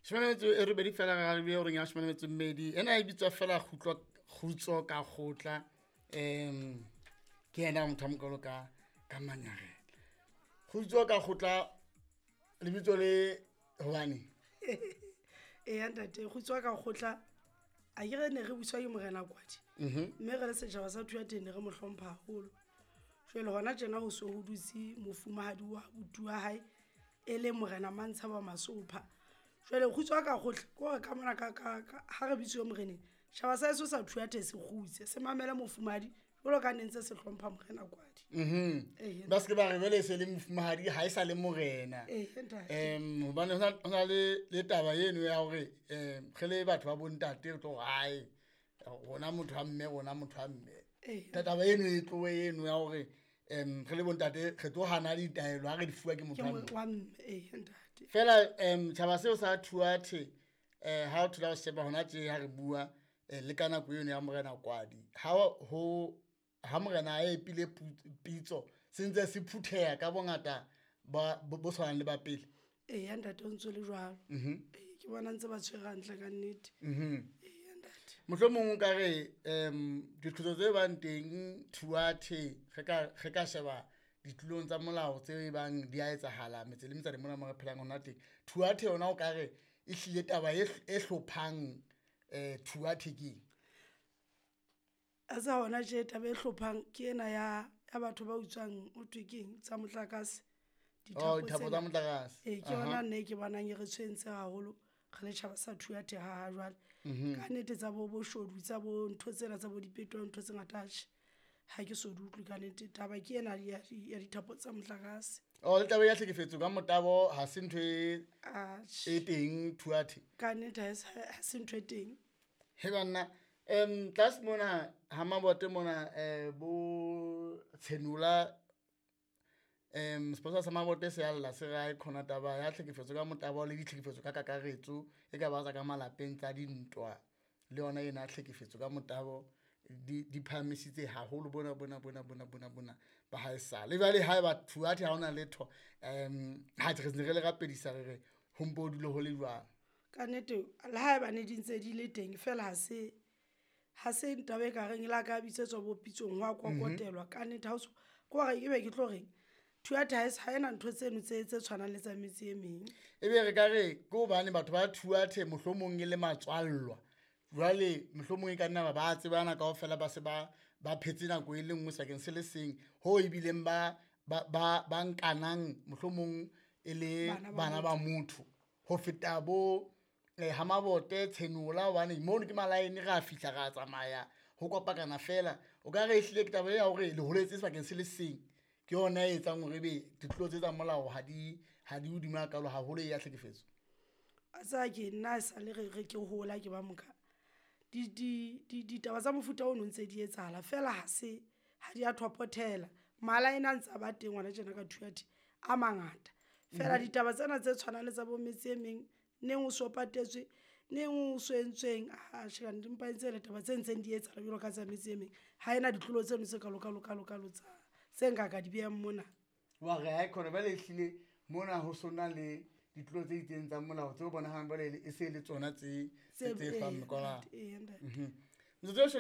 18 fela re arabile horeng ya 12. Ena e bitswa fela kgutlo kgutso ka kgotla. Ke yena motho a mokalo ka ka manyarela. Kgutso ka kgotla lebitso le hobane. Eya ntate, kgutso ka kgotla a ke re ne re buswa ke morena Kwadi. Mme re le setjhaba sa Thuatheng ne re mo hlompha haholo. Jwale hona tjena ho so ho dutse mofumahadi wa abuti wa hae e le morena Mantsha wa Masopha. Jwale kgutso ka kgotla ke hore ka mona ka ka ha re bitsuwe moreneng, tjhaba sa heso sa Thuathe se kgutse, se mamele mofumahadi jwalo ka ne ntse se hlompha morena Kwadi. Ba se ke ba re jwale se le mofumahadi ha e sa le morena. Hobane ho na le taba eno ya hore re le batho ba bontate re tlo re hae rona motho wa mme, rona motho wa mme. Taba eno e tlohe eno ya hore re le bontate re tlo hana ditaelo ha re di fuwa ke motho wa mme. Ntate. Fela tjhaba seo sa Thuathe ha o thola ho sheba hona tje ha re bua le ka nako eno ya morena Kwadi, ha morena a epile pitso se ntse se phutheha ka bongata bo tshwanang le ba pele. Eya ntate, o ntso le jwalo. Ke bona ntse ba tshwere hantle ka nnete. Eya ntate. Mohlomong o ka re diqholotso tse bang teng Thuathe re ka sheba ditulong tsa molao tse bang di a etsahala metse le metsana mona mo re phelang hona teng. Thuathe yona o ka re e hlile taba e hlophang Thuathe ke eng? A sa hona tje taba e hlophang ke ena ya batho ba utswang ho thwe keng tsa motlakase. Oh, dithapo tsa motlakase. Ke yona nna e ke bonang e re tshwentse haholo re le tjhaba sa Thuathe ha jwale. Ka nnete tsa bo boshodu, tsa bo ntho tsena tsa bo dipeto, ntho tse ngata atjhe ha ke so di utlwe ka nnete. Taba ke ena ya dithapo tsa motlakase. Oh, le taba ya tlhekefetso ka motabo ha se ntho e teng Thuathe. Ka nnete ha se ntho e teng. He banna, tlase mona ha Mabote mona bo Tshenola sepolesa sa Mabote se a lla se re ha e khona taba ya tlhekefetso ka motabo le ditlhekefetso ka kakaretso e ka ba tsa ka malapeng tsa dintwa le yona ena tlhekefetso ka motabo di phahamisitse haholo bona bona bona bona bona bona ba haesale. Jwale ha eba Thuathe ha hona letho ha re ne re le rapedisa re re ho mpo ho dule ho le jwalo. Ka nnete le ha eba ne di ntse di le teng fela ha se taba e ka reng le ha ka bitsetswa bo pitsong ho a kokotelwa. Ka nnete ha o so ke hore ebe ke tlo reng Thuathe ha ena ntho tseno tse tshwanang le tsa metse e meng. Ebe re ka re ke hobane batho ba Thuathe mohlomong e le matswallwa, jwale mohlomong e ka nna ba tsebana kaofela, ba se ba phetse nako e le nngwe sebakeng se le seng, ho ebileng ba nkanang mohlomong e le bana ba motho ho feta bo ha Mabote Tshenola, hobane mono ke malaene re a fihla re a tsamaya ho kopakana fela. O ka re ehlile ke taba ya hore le holetse sebakeng se le seng ke yona e etsang hore ebe ditlolo tse tsa molao ha di hodimo hakalo haholo ya tlhekefetso. A tsa ke nna sa le re ke hola ke ba moka ditaba tsa mofuta ono ntse di etsahala fela ha se ha di a thopothela. Malaene a ntse a ba teng hona tjena ka Thuathe a mangata fela ditaba tsena tse tshwanang le tsa bo metse e meng neng o so patetswe neng o so entsweng atjhe ka nnete, empa e ntse e le taba tse ntseng di etsahala jwalo ka tsa metse e meng. Ha ena ditlolo tseno tse kalo kalo kalo kalo tsa tse nka ka di behang mona. Wa re ha e khona jwale ehlile mona ho sona le ditlolo tse itseng tsa molao tseo bonahalang jwale e se le tsona tse fang mekwalaba. Metsotso e